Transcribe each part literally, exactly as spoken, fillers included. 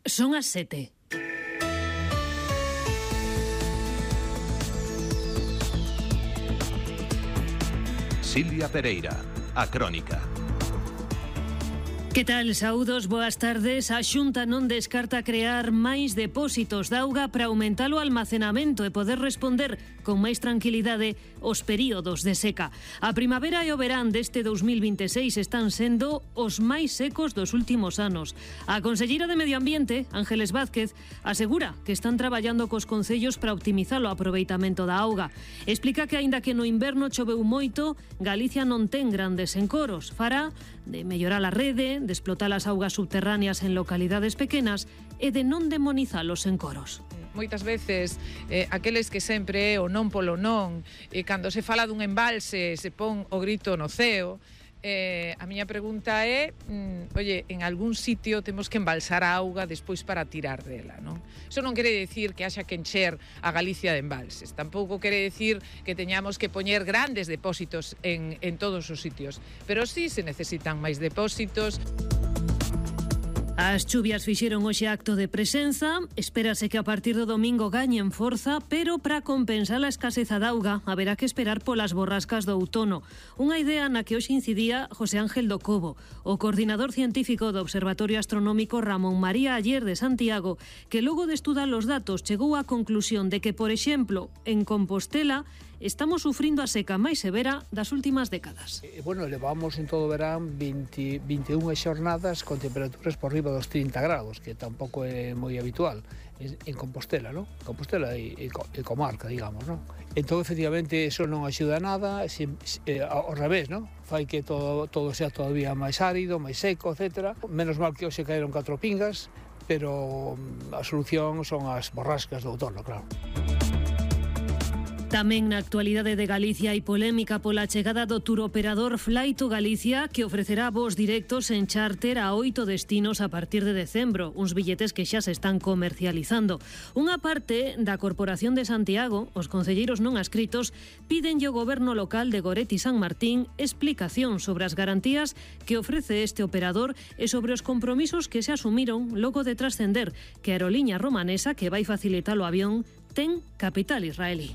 Son as sete. Silvia Pereira, a Crónica. Que tal, saúdos, boas tardes. A Xunta non descarta crear máis depósitos de auga para aumentar o almacenamento e poder responder con máis tranquilidade os períodos de seca. A primavera e o verán deste dos mil vinte e seis están sendo os máis secos dos últimos anos. A conselleira de Medio Ambiente, Ángeles Vázquez, asegura que están traballando cos concellos para optimizar o aproveitamento da auga. Explica que, aínda que no inverno choveu moito, Galicia non ten grandes encoros. Fará de mellorar a rede, de explotar as augas subterráneas en localidades pequenas e de non demonizar os encoros. Moitas veces eh, aqueles que sempre é o non polo non, e cando se fala dun embalse se pon o grito no ceo. Eh, a miña pregunta é, mm, oye, en algún sitio temos que embalsar a auga despois para tirar dela, non? Iso non quere decir que haxa que encher a Galicia de embalses, tampouco quere decir que teñamos que poñer grandes depósitos en, en todos os sitios, pero sí se necesitan máis depósitos. As chuvias fixeron hoxe acto de presenza, espérase que a partir do domingo gañen forza, pero para compensar a escaseza de auga haberá que esperar polas borrascas do outono. Unha idea na que hoxe incidía José Ángel do Cobo, o coordinador científico do Observatorio Astronómico Ramón María Aller de Santiago, que logo de estudar os datos chegou á conclusión de que, por exemplo, en Compostela estamos sufrindo a seca máis severa das últimas décadas. Eh, bueno, levamos en todo o verán vinte, vinte e unha xornadas con temperaturas por riba dos trinta grados, que tampouco é moi habitual en, en Compostela, ¿no? Compostela e, e, e comarca, digamos, ¿no? Entón, efectivamente, eso non axuda a nada, se, se, eh, ao revés, ¿no? Fai que todo, todo sea todavía máis árido, máis seco, etcétera. Menos mal que hoxe caeron catro pingas, pero a solución son as borrascas do outono, claro. Tamén na actualidade de Galicia hai polémica pola chegada do turoperador Flight to Galicia, que ofrecerá voos directos en charter a oito destinos a partir de decembro, uns billetes que xa se están comercializando. Unha parte da Corporación de Santiago, os concelleiros non adscritos, pídenlle ao goberno local de Goretti San Martín explicación sobre as garantías que ofrece este operador e sobre os compromisos que se asumiron logo de trascender que a aeroliña romanesa, que vai facilitar o avión, ten capital israelí.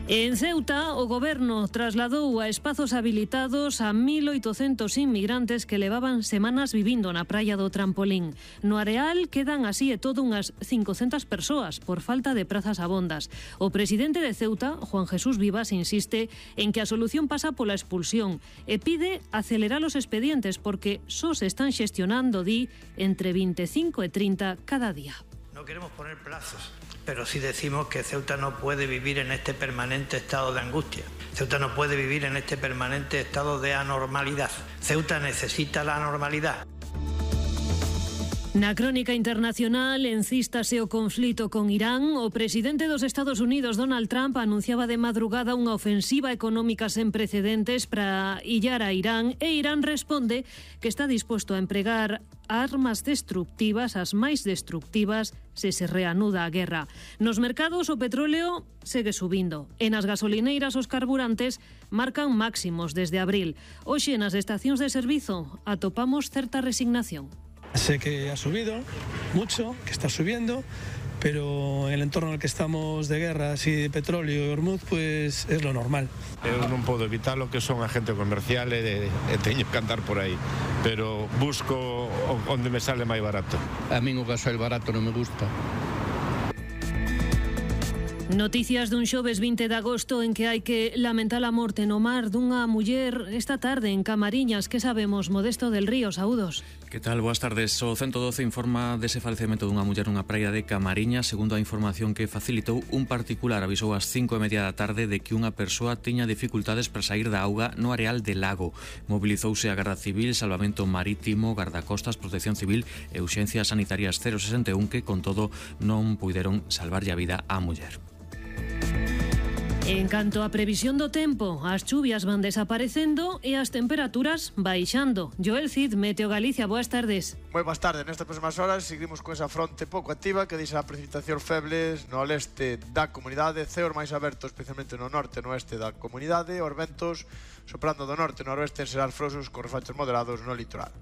En Ceuta, o goberno trasladou a espazos habilitados a mil oitocentos inmigrantes que levaban semanas vivindo na praia do Trampolín. No areal quedan así e todo unhas cincocentas persoas por falta de prazas abondas. O presidente de Ceuta, Juan Jesús Vivas, insiste en que a solución pasa pola expulsión e pide acelerar os expedientes porque só se están xestionando, di, entre vinte e cinco e trinta cada día. No queremos poner plazos, pero sí decimos que Ceuta no puede vivir en este permanente estado de angustia. Ceuta no puede vivir en este permanente estado de anormalidad. Ceuta necesita la normalidad. Na crónica internacional, encístase o conflito con Irán. O presidente dos Estados Unidos, Donald Trump, anunciaba de madrugada unha ofensiva económica sen precedentes para illar a Irán, e Irán responde que está disposto a empregar armas destructivas, as máis destructivas, se se reanuda a guerra. Nos mercados o petróleo segue subindo e nas gasolineiras os carburantes marcan máximos desde abril. Hoxe nas estacións de servizo atopamos certa resignación. Sé que ha subido mucho, que está subiendo, pero en el entorno en el que estamos de guerra, así de petróleo y Hormuz, pues es lo normal. Eu non podo evitar lo que son agente comercial e, e teño que andar por aí, pero busco onde me sale máis barato. A min o gasoil barato non me gusta. Noticias dun xoves vinte de agosto en que hai que lamentar a morte no mar dunha muller esta tarde en Camariñas. Que sabemos, Modesto del Río? Saúdos. Que tal? Boas tardes. O ciento doce informa dese falecemento dunha muller nunha praia de Camariñas. Segundo a información que facilitou, un particular avisou ás cinco e media da tarde de que unha persoa tiña dificultades para sair da auga no areal de Lago. Mobilizouse a Garda Civil, Salvamento Marítimo, Gardacostas, Protección Civil e Urxencias Sanitarias cero sesenta e un, que con todo non puideron salvarlle a vida á muller. En canto á previsión do tempo, as chuvias van desaparecendo e as temperaturas baixando. Joel Cid, Meteo Galicia, boas tardes. Moi boas tardes. Nestas próximas horas seguimos con esa fronte pouco activa que deixa precipitacións febles no leste da comunidade, ceos máis abertos especialmente no norte e no oeste da comunidade, os ventos soprando do norte e noroeste en serás frosos con refachos moderados no litoral.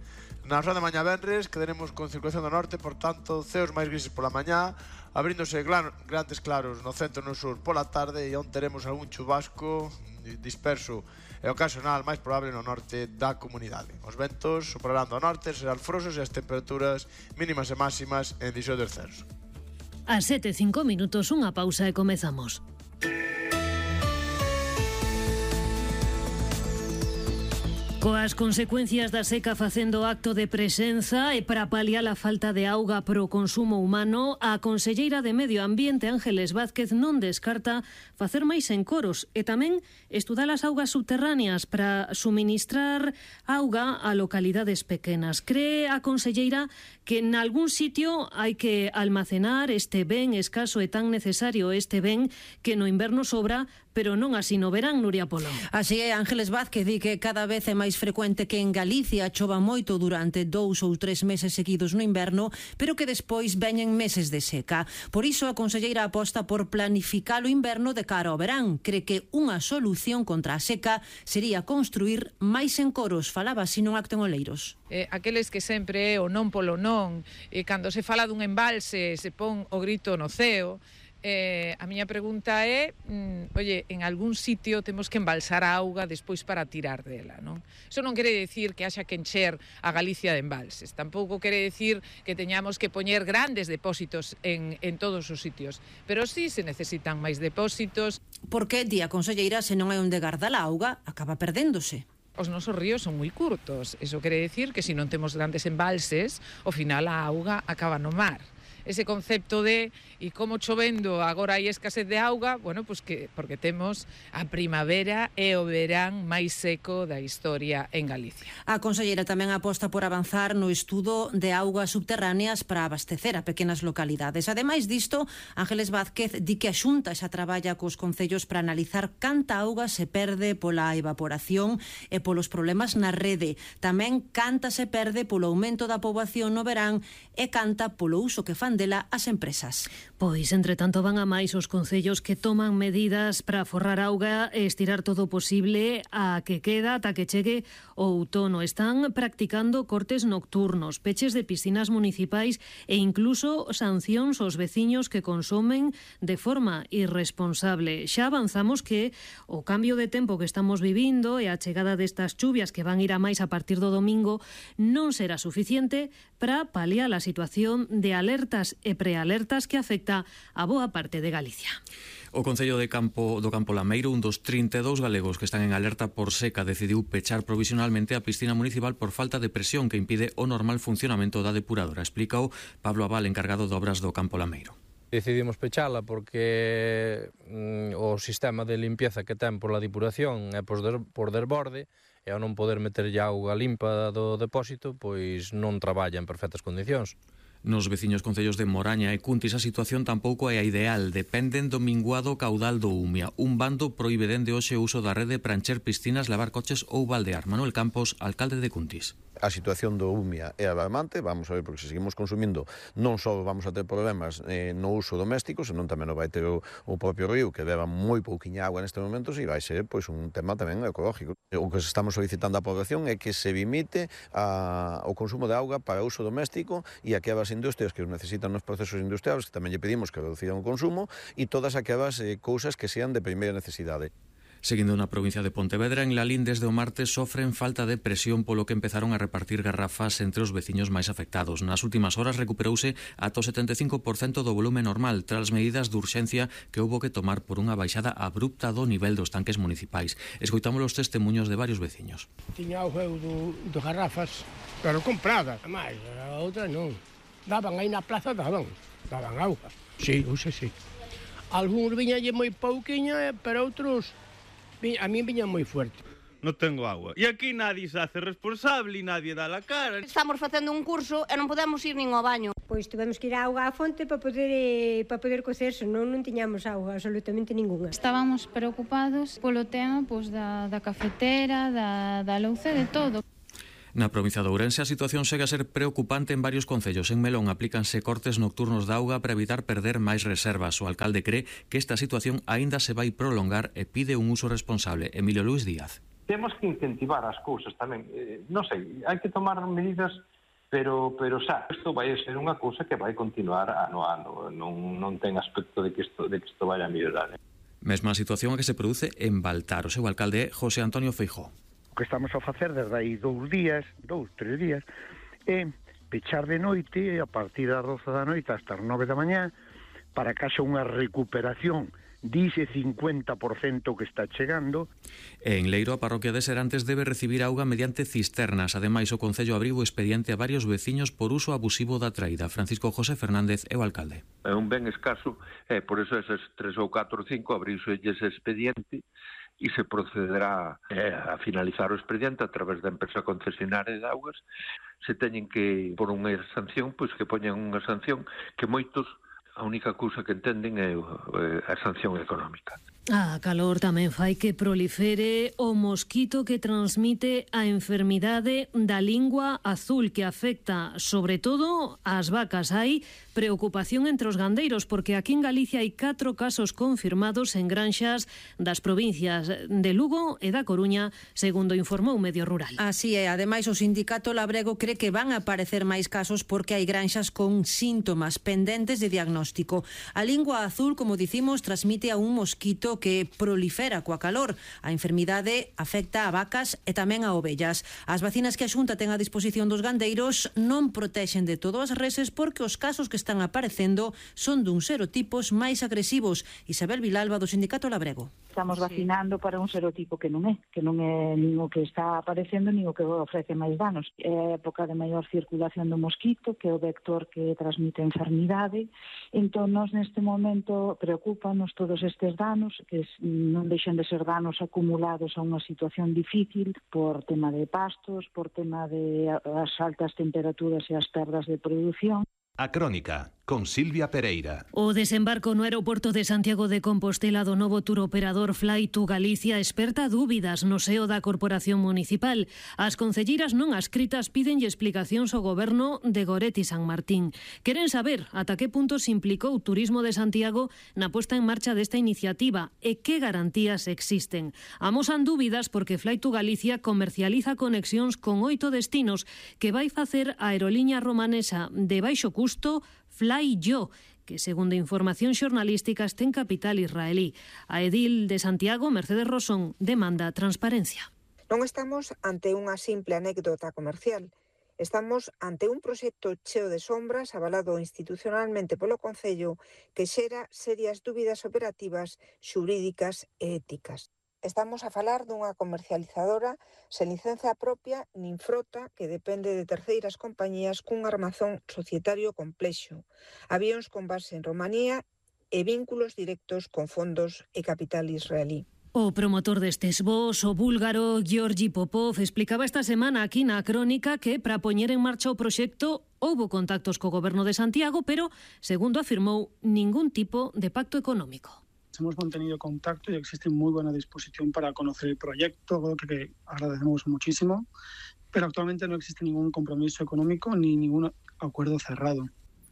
Na hora de mañá venres quedaremos con circulación do norte, por tanto, ceos máis grises pola mañá, abríndose gran, grandes claros no centro e no sur pola tarde, e onde teremos algún chubasco disperso e ocasional máis probable no norte da comunidade. Os ventos soprarán do norte, serán frosos e as temperaturas mínimas e máximas en dixoito descenso. A sete e cinco minutos, unha pausa e comezamos. Coas consecuencias da seca facendo acto de presenza e para paliar a falta de auga para o consumo humano, a conselleira de Medio Ambiente, Ángeles Vázquez, non descarta facer máis encoros e tamén estudar as augas subterráneas para suministrar auga a localidades pequenas. Cree a conselleira que en algún sitio hai que almacenar este ben escaso e tan necesario, este ben que no inverno sobra, pero non así no verán, Nuria Polo. Así é, Ángeles Vázquez di que cada vez é máis frecuente que en Galicia chova moito durante dous ou tres meses seguidos no inverno, pero que despois veñen meses de seca. Por iso a conselleira aposta por planificar o inverno de cara ao verán. Cree que unha solución contra a seca sería construir máis encoros. Falaba así nun acto en Oleiros. Eh, aqueles que sempre é o non polo non, e cando se fala dun embalse se pon o grito no ceo. Eh, a miña pregunta é, mm, oye, en algún sitio temos que embalsar a auga despois para tirar dela, non? Iso non quere decir que haxa que encher a Galicia de embalses, tampouco quere decir que teñamos que poñer grandes depósitos en, en todos os sitios, pero sí se necesitan máis depósitos. Porque, di a conselleira, se non hai onde gardar a auga, acaba perdéndose. Os nosos ríos son moi curtos, iso quere decir que se non temos grandes embalses, ao final a auga acaba no mar. Ese concepto de e como chovendo agora hai escasez de auga, bueno, pues que porque temos a primavera e o verán máis seco da historia en Galicia. A conselleira tamén aposta por avanzar no estudo de augas subterráneas para abastecer a pequenas localidades. Ademais disto, Ángeles Vázquez di que a Xunta xa traballa cos concellos para analizar canta auga se perde pola evaporación e polos problemas na rede. Tamén canta se perde polo aumento da poboación no verán e canta polo uso que fan dela as empresas. Pois, entre tanto, van a máis os concellos que toman medidas para forrar auga e estirar todo o posible a que queda ata que chegue o outono. Están practicando cortes nocturnos, peches de piscinas municipais e incluso sancións aos veciños que consumen de forma irresponsable. Xa avanzamos que o cambio de tempo que estamos vivindo e a chegada destas chuvias que van ir a máis a partir do domingo non será suficiente para paliar a situación de alertas e prealertas que afecta a boa parte de Galicia. O Concello de Campo do Campo Lameiro, un dos trinta e dous galegos que están en alerta por seca, decidiu pechar provisionalmente a piscina municipal por falta de presión que impide o normal funcionamento da depuradora. Explicou Pablo Abal, encargado de obras do Campo Lameiro. Decidimos pechala porque mm, o sistema de limpieza que ten por la depuración é por, der, por desborde e ao non poder meter auga limpa do depósito, pois non traballa en perfectas condicións. Nos veciños concellos de Moraña e Cuntis a situación tampouco é a ideal. Dependen do minguado caudal do Umia. Un bando proíbe dende hoxe o uso da rede para encher piscinas, lavar coches ou baldear. Manuel Campos, alcalde de Cuntis. A situación do Umia é alarmante, vamos a ver, porque se seguimos consumindo non só vamos a ter problemas eh, no uso doméstico, senón tamén o vai ter o, o propio río, que beba moi pouquiña agua neste momento, e vai ser pois, un tema tamén ecológico. O que estamos solicitando á población é que se limite a, o consumo de auga para uso doméstico e aquelas industrias que os necesitan nos procesos industriales, que tamén lle pedimos que reduciran o consumo, e todas aquelas eh, cousas que sean de primeira necesidade. Seguindo na provincia de Pontevedra, en Lalín desde o martes sofren falta de presión polo que empezaron a repartir garrafas entre os veciños máis afectados. Nas últimas horas recuperouse ata o setenta e cinco por cento do volume normal tras medidas de urxencia que houbo que tomar por unha baixada abrupta do nivel dos tanques municipais. Escoitamos os testemunhos de varios veciños. Tiña o eu do, do garrafas, pero compradas, a máis, a outra non. Daban aí na plaza, daban, daban auga. Sí, uxe, sí. Algúns viñalle moi pouquiña, pero outros a mí viña moi fuerte. Non tengo agua. E aquí nadie se hace responsable e nadie dá la cara. Estamos facendo un curso e non podemos ir nin ao baño. Pois tivemos que ir á auga á fonte para poder eh, para poder cocer, senón non tiñamos auga absolutamente ningunha. Estábamos preocupados polo tema pois, da, da cafetera, da, da louza, de todo. Na provincia de Ourense a situación segue a ser preocupante en varios concellos. En Melón aplícanse cortes nocturnos de auga para evitar perder máis reservas. O alcalde cree que esta situación aínda se vai prolongar e pide un uso responsable. Emilio Luis Díaz. Temos que incentivar as cousas tamén. Eh, non sei, hai que tomar medidas pero, pero xa, isto vai ser unha cousa que vai continuar ano a ano, non, non ten aspecto de que isto, de que isto vaya a mellorar. Mesma situación a que se produce en Baltar. O seu alcalde é José Antonio Feijóo. O que estamos a facer desde aí dous días, dous, tres días, é pechar de noite, a partir das doce da noite hasta as nove da mañá, para que haxa unha recuperación dice cincuenta por ciento que está chegando. En Leiro, a parroquia de Serantes debe recibir auga mediante cisternas. Ademais, o Concello abriu o expediente a varios veciños por uso abusivo da traída. Francisco José Fernández é o alcalde. É un ben escaso, e por eso eses tres ou catro ou cinco abriuse ese expediente e se procederá eh, a finalizar o expediente a través da empresa concesionaria de augas. Se teñen que por unha sanción, pois que poñan unha sanción que moitos a única cousa que entenden é a sanción económica. A calor tamén fai que prolifere o mosquito que transmite a enfermidade da lingua azul, que afecta sobre todo ás vacas. Hai preocupación entre os gandeiros porque aquí en Galicia hai catro casos confirmados en granxas das provincias de Lugo e da Coruña, segundo informou Medio Rural. Así é, ademais o sindicato labrego cree que van a aparecer máis casos porque hai granxas con síntomas pendentes de diagnóstico. A lingua azul, como dicimos, transmite a un mosquito que prolifera coa calor. A enfermidade afecta a vacas e tamén a ovellas. As vacinas que a Xunta ten a disposición dos gandeiros non protexen de todo as reses porque os casos que están aparecendo son dun serotipos máis agresivos. Isabel Vilalba, do Sindicato Labrego. Estamos vacinando para un serotipo que non é, que non é nin o que está aparecendo nin o que ofrece máis danos. É a época de maior circulación do mosquito, que é o vector que transmite a enfermidade. Entón, nos neste momento preocúpanos todos estes danos, que non deixen de ser danos acumulados a unha situación difícil por tema de pastos, por tema de as altas temperaturas e as perdas de produción. A Crónica, con Silvia Pereira. O desembarco no aeroporto de Santiago de Compostela do novo tour operador Fly to Galicia esperta dúbidas no seo da Corporación Municipal. As concelleiras non adscritas pídenlle explicacións ao goberno de Goretti San Martín. Queren saber ata que punto se implicou o Turismo de Santiago na posta en marcha desta iniciativa e que garantías existen. Amosan dúbidas porque Fly to Galicia comercializa conexións con oito destinos que vai facer a aeroliña romanesa de baixo custo Fly-Yo, que, segundo información xornalística, ten capital israelí. A edil de Santiago, Mercedes Rosón, demanda transparencia. Non estamos ante unha simple anécdota comercial. Estamos ante un proxecto cheo de sombras avalado institucionalmente polo Concello que xera serias dúbidas operativas, xurídicas e éticas. Estamos a falar dunha comercializadora sen licencia propia nin frota que depende de terceiras compañías cun armazón societario complexo, avións con base en Romanía e vínculos directos con fondos e capital israelí. O promotor destes voos, o búlgaro Georgi Popov, explicaba esta semana aquí na Crónica que para poñer en marcha o proxecto houbo contactos co goberno de Santiago, pero, segundo afirmou, ningún tipo de pacto económico. Hemos mantenido contacto y existe muy buena disposición para conocer el proyecto, algo que agradecemos muchísimo, pero actualmente no existe ningún compromiso económico ni ningún acuerdo cerrado.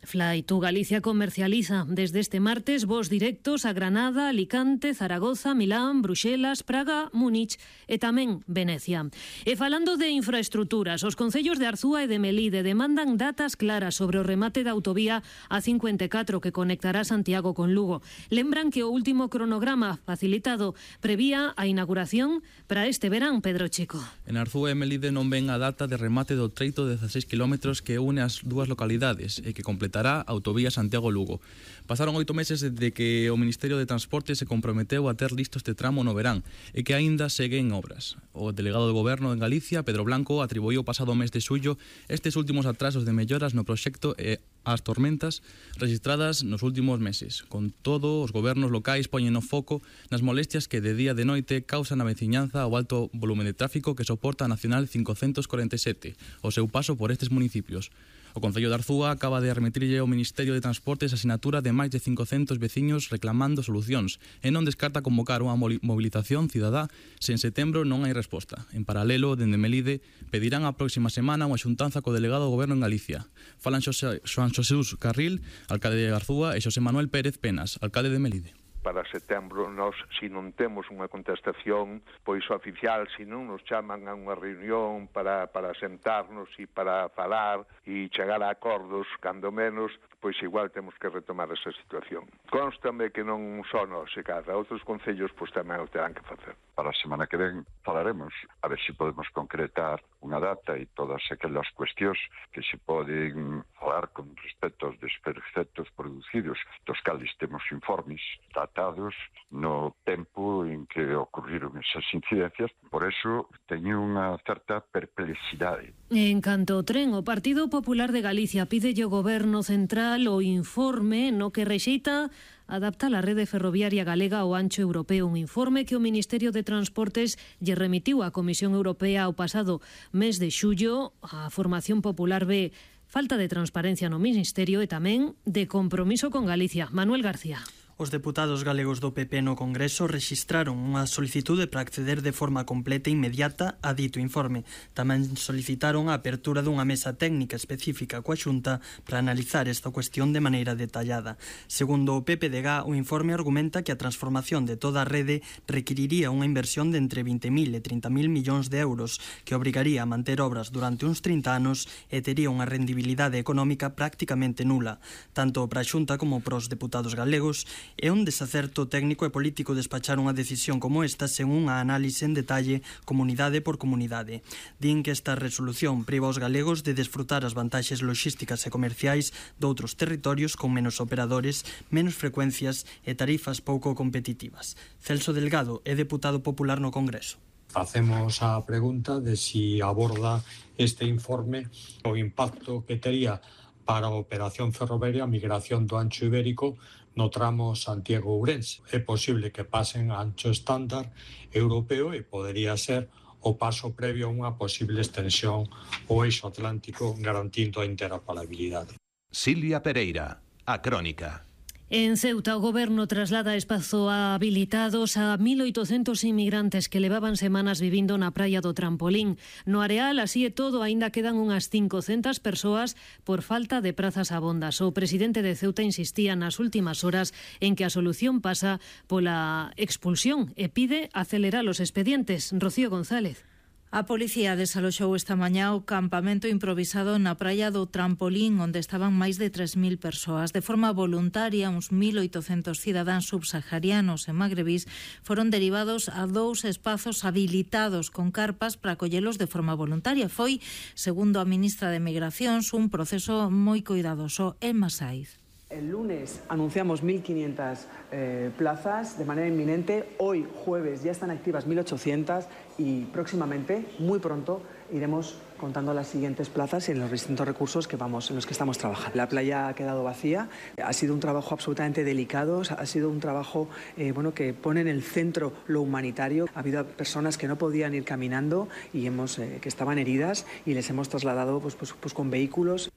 Fly to Galicia comercializa desde este martes voos directos a Granada, Alicante, Zaragoza, Milán, Bruxelas, Praga, Múnich e tamén Venecia. E falando de infraestructuras, os concellos de Arzúa e de Melide demandan datas claras sobre o remate da autovía A cincuenta e catro que conectará Santiago con Lugo. Lembran que o último cronograma facilitado prevía a inauguración para este verán, Pedro Chico. En Arzúa e Melide non ven a data de remate do treito de dezaseis kilómetros que une as dúas localidades e que completará a autovía Santiago-Lugo. Pasaron oito meses desde que o Ministerio de Transporte se comprometeu a ter listo este tramo no verán e que aínda segue en obras. O delegado do Goberno en Galicia, Pedro Blanco, atribuiu o pasado mes de xullo estes últimos atrasos de melloras no proxecto e as tormentas registradas nos últimos meses. Con todo, os gobernos locais poñen o foco nas molestias que de día e de noite causan a veciñanza ao alto volume de tráfico que soporta a Nacional cincocentos corenta e sete, o seu paso por estes municipios. O Concello de Arzúa acaba de remitirlle ao Ministerio de Transportes a sinatura de máis de cincocentos veciños reclamando solucións e non descarta convocar unha movilización cidadá se en setembro non hai resposta. En paralelo, dende Melide, pedirán a próxima semana unha xuntanza co delegado do Goberno en Galicia. Falan Xosé, Xoan Xosé Carril, alcalde de Arzúa, e Xosé Manuel Pérez Penas, alcalde de Melide. para setembro, nós, se non temos unha contestación pois oficial, se non nos chaman a unha reunión para, para sentarnos e para falar e chegar a acordos, cando menos, pois igual temos que retomar esa situación. Constame que non só nós, se cada outros concellos pois tamén o terán que facer. Para a semana que ven falaremos a ver se podemos concretar unha data e todas aquelas cuestións que se poden falar con respecto aos desperfectos producidos, dos cales temos informes datados no tempo en que ocurriron esas incidencias. Por eso teño unha certa perplexidade. En canto ao tren, o Partido Popular de Galicia pide ao Goberno Central o informe no que rexeita adapta a rede ferroviaria galega ao ancho europeo, un informe que o Ministerio de Transportes lle remitiu á Comisión Europea ao pasado mes de xullo. A Formación Popular ve falta de transparencia no Ministerio e tamén de compromiso con Galicia. Manuel García. Os deputados galegos do P P no Congreso rexistraron unha solicitude para acceder de forma completa e inmediata a dito informe. Tamén solicitaron a apertura dunha mesa técnica específica coa Xunta para analizar esta cuestión de maneira detallada. Segundo o P P D G, o informe argumenta que a transformación de toda a rede requiriría unha inversión de entre vinte mil e trinta mil millóns de euros que obrigaría a manter obras durante uns trinta anos e tería unha rendibilidade económica prácticamente nula, tanto para a Xunta como para os deputados galegos. É un desacerto técnico e político despachar unha decisión como esta sen unha análise en detalle comunidade por comunidade. Din que esta resolución priva aos galegos de desfrutar as vantaxes logísticas e comerciais doutros territorios con menos operadores, menos frecuencias e tarifas pouco competitivas. Celso Delgado é deputado popular no Congreso. Facemos a pregunta de si aborda este informe o impacto que tería para a operación ferroviaria a migración do ancho ibérico no tramo Santiago-Ourense. É posible que pasen a ancho estándar europeo e podería ser o paso previo a unha posible extensión ao eixo atlántico garantindo a interoperabilidade. Silvia Pereira, a Crónica. En Ceuta, o Goberno traslada espazos habilitados a mil oitocentos inmigrantes que levaban semanas vivindo na praia do Trampolín. No areal, así e todo, aínda quedan unhas cincocentas persoas por falta de prazas abondas. O presidente de Ceuta insistía nas últimas horas en que a solución pasa pola expulsión e pide acelerar os expedientes. Rocío González. A policía desaloxou esta mañá o campamento improvisado na praia do Trampolín, onde estaban máis de tres mil persoas. De forma voluntaria, uns mil oitocentos cidadáns subsaharianos e magrebís foron derivados a dous espazos habilitados con carpas para acollelos de forma voluntaria. Foi, segundo a ministra de Migracións, un proceso moi coidadoso. Elma Saiz. El lunes anunciamos mil quinientas eh, plazas de manera inminente. Hoy, jueves, ya están activas mil ochocientas y próximamente, muy pronto, iremos contando las siguientes plazas en los distintos recursos que vamos, en los que estamos trabajando. La playa ha quedado vacía. Ha sido un trabajo absolutamente delicado. Ha sido un trabajo eh, bueno, que pone en el centro lo humanitario. Ha habido personas que no podían ir caminando y hemos, eh, que estaban heridas y les hemos trasladado pues, pues, pues, con vehículos.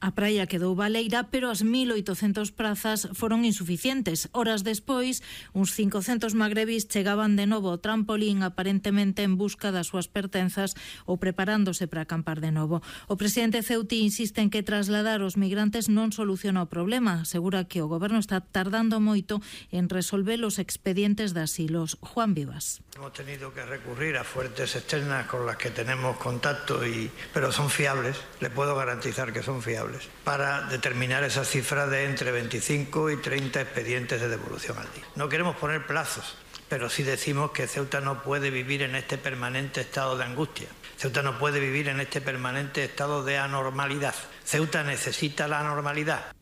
A praia quedou baleira, pero as mil oitocentas prazas foron insuficientes. Horas despois, uns cincocentos magrebis chegaban de novo ao Trampolín, aparentemente en busca das súas pertenzas ou preparándose para acampar de novo. O presidente Ceuti insiste en que trasladar os migrantes non soluciona o problema. Asegura que o goberno está tardando moito en resolver os expedientes de asilos. Juan Vivas. Hemos tenido que recurrir a fuentes externas con las que tenemos contacto, y, pero son fiables, le puedo garantizar que son fiables, para determinar esa cifra de entre veinticinco y treinta expedientes de devolución al día. No queremos poner plazos, pero sí decimos que Ceuta no puede vivir en este permanente estado de angustia. Ceuta no puede vivir en este permanente estado de anormalidad. Ceuta necesita la normalidad.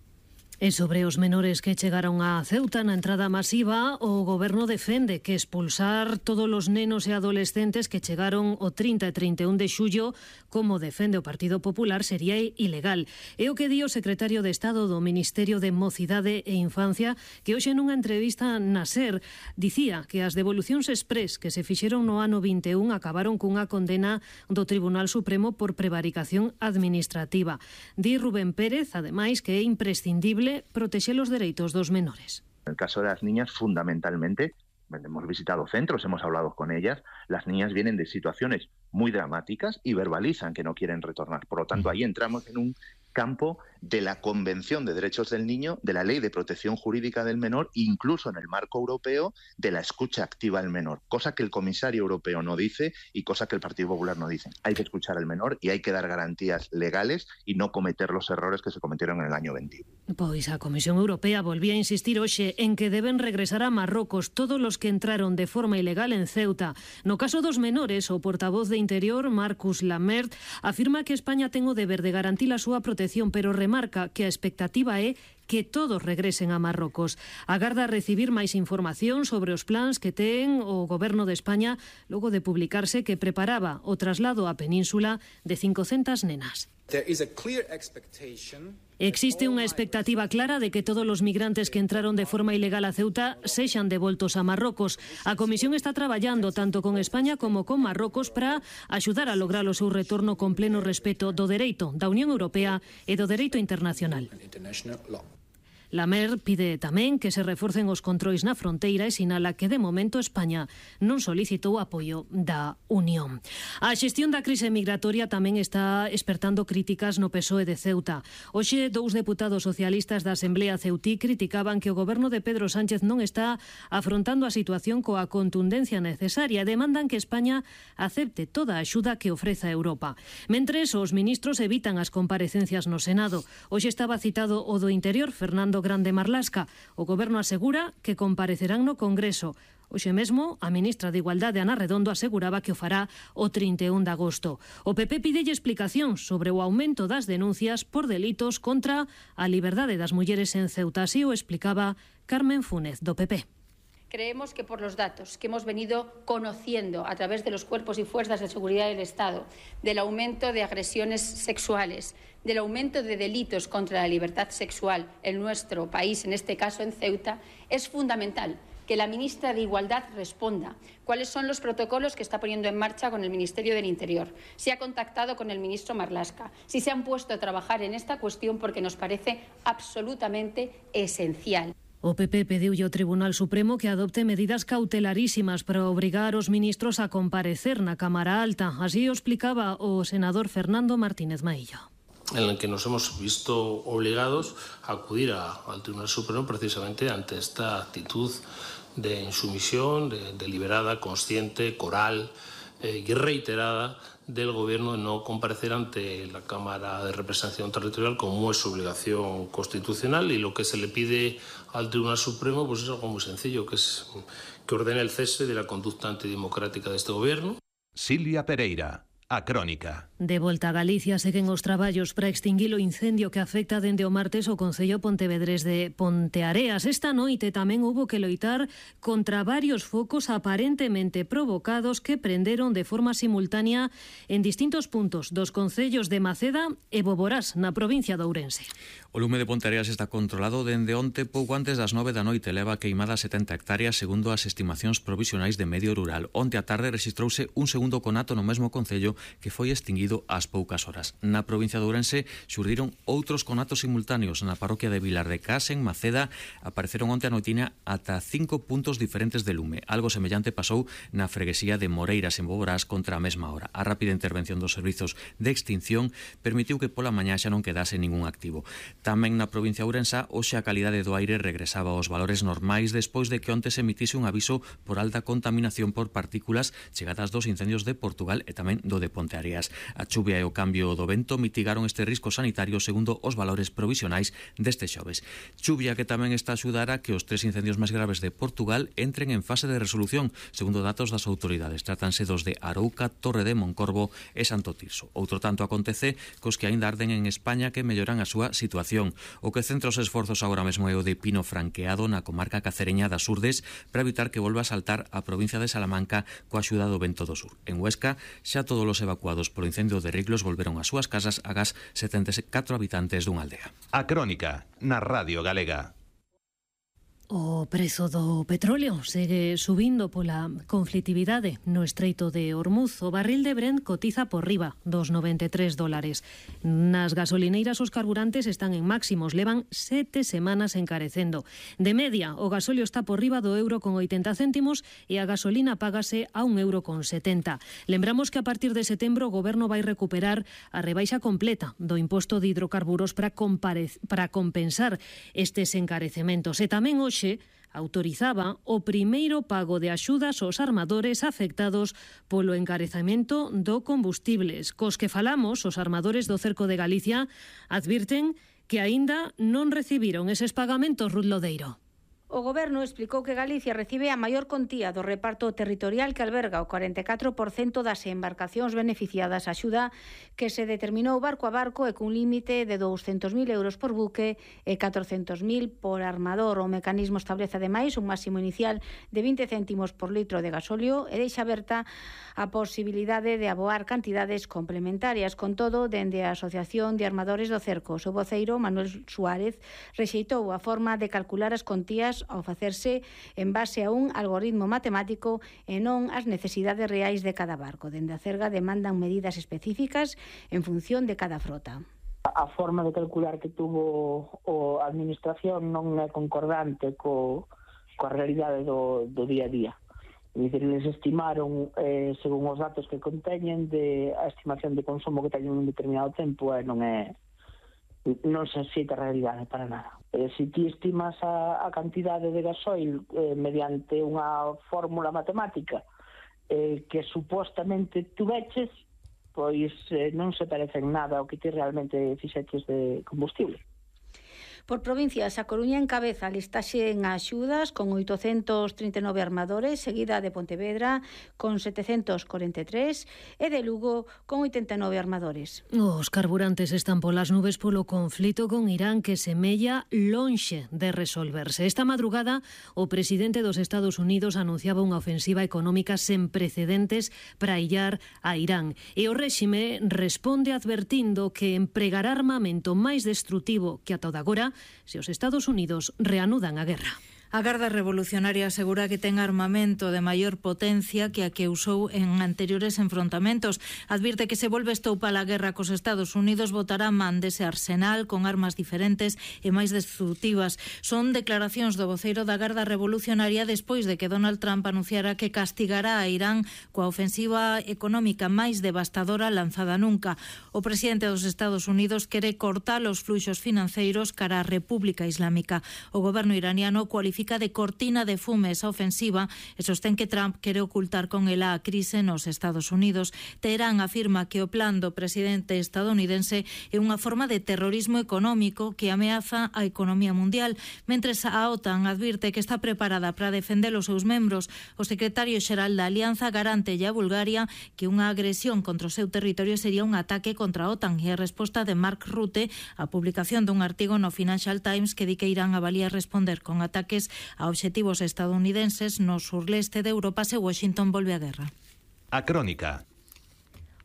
E sobre os menores que chegaron a Ceuta na entrada masiva, o goberno defende que expulsar todos os nenos e adolescentes que chegaron o trinta e trinta e un de xullo, como defende o Partido Popular, sería ilegal. É o que di o secretario de Estado do Ministerio de Mocidade e Infancia, que hoxe nunha entrevista na SER dicía que as devolucións exprés que se fixeron no ano vinte e un acabaron cunha condena do Tribunal Supremo por prevaricación administrativa. Di Rubén Pérez, ademais, que é imprescindible proteger los derechos dos menores. En el caso de las niñas, fundamentalmente, hemos visitado centros, hemos hablado con ellas, las niñas vienen de situaciones muy dramáticas y verbalizan que no quieren retornar. Por lo tanto, ahí entramos en un campo de la Convención de Derechos del Niño, de la Ley de Protección Jurídica del Menor, incluso en el marco europeo de la escucha activa al menor, cosa que el comisario europeo no dice y cosa que el Partido Popular no dice. Hay que escuchar al menor y hay que dar garantías legales y no cometer los errores que se cometieron en el año veintiuno. Pois a Comisión Europea volvía a insistir hoxe en que deben regresar a Marrocos todos los que entraron de forma ilegal en Ceuta. No caso dos menores, o portavoz de Interior, Marcus Lamert, afirma que España ten o deber de garantir a súa protección, pero remarca que a expectativa é que todos regresen a Marrocos. Agarda recibir máis información sobre os plans que ten o Goberno de España logo de publicarse que preparaba o traslado á península de cincocentas nenas. Existe unha expectativa clara de que todos os migrantes que entraron de forma ilegal a Ceuta sexan devoltos a Marrocos. A Comisión está traballando tanto con España como con Marrocos para axudar a lograr o seu retorno con pleno respeto do dereito da Unión Europea e do dereito internacional. Lamer pide tamén que se reforcen os controis na fronteira e sinala que de momento España non solicitou apoio da Unión. A xestión da crise migratoria tamén está espertando críticas no P S O E de Ceuta. Hoxe, dous deputados socialistas da Asamblea Ceutí criticaban que o goberno de Pedro Sánchez non está afrontando a situación coa contundencia necesaria e demandan que España acepte toda a axuda que ofreza Europa. Mentres, os ministros evitan as comparecencias no Senado. Hoxe estaba citado o do Interior, Fernando Grande Marlasca. O Goberno asegura que comparecerán no Congreso. Hoxe mesmo, a ministra de Igualdade, Ana Redondo, aseguraba que o fará o trinta e un de agosto. O P P pidelle explicación sobre o aumento das denuncias por delitos contra a liberdade das mulleres en Ceuta. Así o explicaba Carmen Fúnez, do P P. Creemos que por los datos que hemos venido conociendo a través de los cuerpos y fuerzas de seguridad del Estado, del aumento de agresiones sexuales, del aumento de delitos contra la libertad sexual en nuestro país, en este caso en Ceuta, es fundamental que la ministra de Igualdad responda cuáles son los protocolos que está poniendo en marcha con el Ministerio del Interior, si ha contactado con el ministro Marlaska, si se han puesto a trabajar en esta cuestión, porque nos parece absolutamente esencial. O P P pediulle ao Tribunal Supremo que adopte medidas cautelarísimas para obrigar os ministros a comparecer na Cámara Alta. Así o explicaba o senador Fernando Martínez Maillo. En el que nos hemos visto obligados a acudir a, al Tribunal Supremo precisamente ante esta actitud de insumisión, de, deliberada, consciente, coral eh, y reiterada del Gobierno de no comparecer ante la Cámara de Representación Territorial como es su obligación constitucional, y lo que se le pide al Tribunal Supremo pues es algo muy sencillo, que es que ordene el cese de la conducta antidemocrática de este Gobierno. Silvia Pereira, a Crónica. De volta a Galicia seguen os traballos para extinguir o incendio que afecta dende o martes o Concello Pontevedrés de Ponteareas. Esta noite tamén houbo que loitar contra varios focos aparentemente provocados que prenderon de forma simultánea en distintos puntos dos concellos de Maceda e Boborás, na provincia de Ourense. O lume de Ponteareas está controlado dende onte pouco antes das nove da noite, leva queimada setenta hectáreas segundo as estimacións provisionais de Medio Rural. Onte a tarde rexistrouse un segundo conato no mesmo concello que foi extinguido ás poucas horas. Na provincia de Ourense xurdiron outros conatos simultáneos. Na parroquia de Vilar de Cas, en Maceda, apareceron onte a noitina ata cinco puntos diferentes de lume. Algo semellante pasou na freguesía de Moreiras, en Boborás, contra a mesma hora. A rápida intervención dos servizos de extinción permitiu que pola mañá xa non quedase ningún activo. Tamén na provincia de Ourense, hoxe a calidade do aire regresaba aos valores normais despois de que onte se emitise un aviso por alta contaminación por partículas chegadas dos incendios de Portugal e tamén do de Ponteareas. A chuvia e o cambio do vento mitigaron este risco sanitario segundo os valores provisionais deste xoves. Chuvia que tamén está a axudar a que os tres incendios máis graves de Portugal entren en fase de resolución, segundo datos das autoridades. Trátanse dos de Arouca, Torre de Moncorvo e Santo Tirso. Outro tanto acontece cos que aínda arden en España, que melloran a súa situación. O que centra os esforzos agora mesmo é o de Pino Franqueado, na comarca cacereña das Urdes, para evitar que volva a saltar a provincia de Salamanca coa axuda do vento do sur. En Huesca, xa todos os evacuados polo incendio de Riglos volveron ás súas casas agás setenta e catro habitantes dunha aldea. A Crónica, na Radio Galega. O prezo do petróleo segue subindo pola conflitividade no Estreito de Hormuz. O barril de Brent cotiza por riba dos noventa e tres dólares. Nas gasolineiras os carburantes están en máximos, levan sete semanas encarecendo. De media, o gasóleo está por riba do euro con oitenta céntimos e a gasolina págase a un euro con setenta. Lembramos que a partir de setembro o goberno vai recuperar a rebaixa completa do imposto de hidrocarburos para, para compensar estes encarecementos. E tamén hoxe autorizaba o primeiro pago de axudas aos armadores afectados polo encarecemento do combustibles. Cos que falamos, os armadores do cerco de Galicia advirten que aínda non recibiron eses pagamentos, Ruth Lodeiro. O Goberno explicou que Galicia recibe a maior contía do reparto territorial que alberga o cuarenta e catro por cento das embarcacións beneficiadas. A axuda que se determinou barco a barco e cun límite de douscentos mil euros por buque e catrocentos mil por armador. O mecanismo establece ademais un máximo inicial de vinte céntimos por litro de gasóleo e deixa aberta a posibilidade de aboar cantidades complementarias. Con todo, dende a Asociación de Armadores do Cerco, o seu voceiro, Manuel Suárez, rexeitou a forma de calcular as contías ao facerse en base a un algoritmo matemático e non as necesidades reais de cada barco. Dende a Cerga demandan medidas específicas en función de cada frota. A forma de calcular que tuvo a administración non é concordante co, coa realidade do, do día a día. É dicir, eles estimaron, eh, según os datos que conteñen, de a estimación de consumo que teñen un determinado tempo e non é non se xeita a realidade para nada. Eh, se ti estimas a, a cantidade de gasoil eh, mediante unha fórmula matemática eh, que supostamente tuveches, pois eh, non se parece en nada ao que ti realmente fixeches de combustible. Por provincias, a Coruña encabeza a listaxe en axudas con oitocentos trinta e nove armadores, seguida de Pontevedra con setecentos corenta e tres e de Lugo con oitenta e nove armadores. Os carburantes están polas nubes polo conflito con Irán que semella lonxe de resolverse. Esta madrugada, o presidente dos Estados Unidos anunciaba unha ofensiva económica sen precedentes para illar a Irán. E o réxime responde advertindo que empregará armamento máis destrutivo que ata agora se os Estados Unidos reanudan a guerra. A Garda Revolucionaria asegura que ten armamento de maior potencia que a que usou en anteriores enfrontamentos. Advirte que se volve estoupa a guerra cos Estados Unidos botará man dese arsenal con armas diferentes e máis destructivas. Son declaracións do voceiro da Garda Revolucionaria despois de que Donald Trump anunciara que castigará a Irán coa ofensiva económica máis devastadora lanzada nunca. O presidente dos Estados Unidos quere cortar os fluxos financeiros cara a República Islámica. O goberno iraniano cualifica de cortina de fume esa ofensiva e sostén que Trump quere ocultar con ela a crise nos Estados Unidos. Teherán afirma que o plan do presidente estadounidense é unha forma de terrorismo económico que ameaza a economía mundial, mentres a OTAN advirte que está preparada para defender os seus membros. O secretario xeral da Alianza garante a Bulgaria que unha agresión contra o seu territorio sería un ataque contra a OTAN e a resposta de Mark Rutte á publicación dun artigo no Financial Times que di que Irán avalía responder con ataques a obxectivos estadounidenses no surleste de Europa se Washington volve a guerra. A Crónica.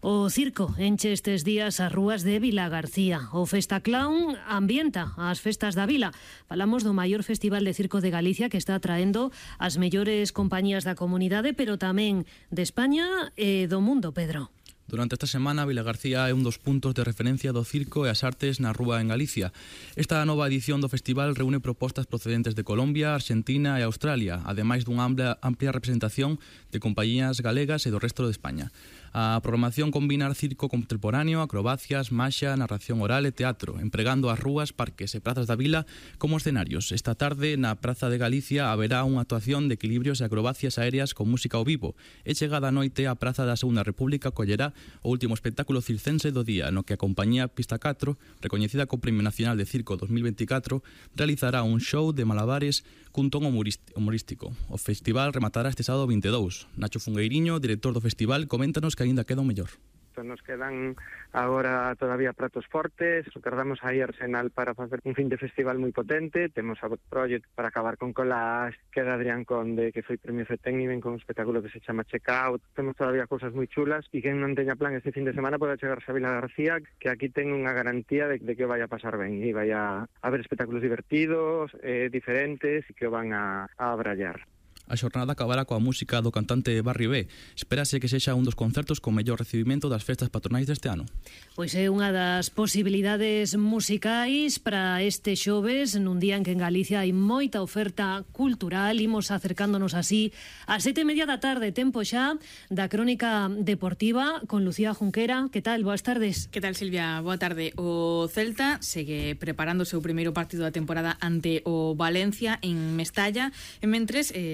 O circo enche estes días as rúas de Vilagarcía. O Festa Clown ambienta as festas da vila. Falamos do maior festival de circo de Galicia que está atraendo as mellores compañías da comunidade, pero tamén de España e do mundo, Pedro. Durante esta semana, Vilagarcía é un dos puntos de referencia do circo e as artes na rúa en Galicia. Esta nova edición do festival reúne propostas procedentes de Colombia, Argentina e Australia, ademais dunha amplia, amplia representación de compañías galegas e do resto de España. A programación combina circo contemporáneo, acrobacias, maxia, narración oral e teatro, empregando as rúas, parques e prazas da vila como escenarios. Esta tarde, na Praza de Galicia, haberá unha actuación de equilibrios e acrobacias aéreas con música ao vivo. E chegada a noite, a Praza da Segunda República collerá o último espectáculo circense do día, no que a compañía Pista catro, recoñecida co Premio Nacional de Circo dos mil veinticuatro, realizará un show de malabares cun ton humorístico. O festival rematará este sábado vinte e dous. Nacho Fungueiriño, director do festival, coméntanos que aínda queda o mellor. isto, nos quedan agora todavía pratos fortes, tardamos aí Arsenal para facer un fin de festival moi potente, temos a Project para acabar con Collage, que é de Adrián Conde, que foi premio FETEN e ven con un espectáculo que se chama Check Out, temos todavía cousas moi chulas, e quen non teña plan este fin de semana pode chegarse a Vila García, que aquí ten unha garantía de, de que vai a pasar ben, e vai a haber espectáculos divertidos, eh, diferentes, e que van a, a abrallar. A xornada acabará coa música do cantante Barry B. Espérase que sexa un dos concertos con mellor recibimento das festas patronais deste ano. Pois é unha das posibilidades musicais para este xoves, nun día en que en Galicia hai moita oferta cultural. Imos acercándonos así a sete e media da tarde, tempo xa da crónica deportiva con Lucía Junquera. Que tal? Boas tardes. Que tal, Silvia? Boa tarde. O Celta segue preparando o seu primeiro partido da temporada ante o Valencia en Mestalla, e mentres... Eh,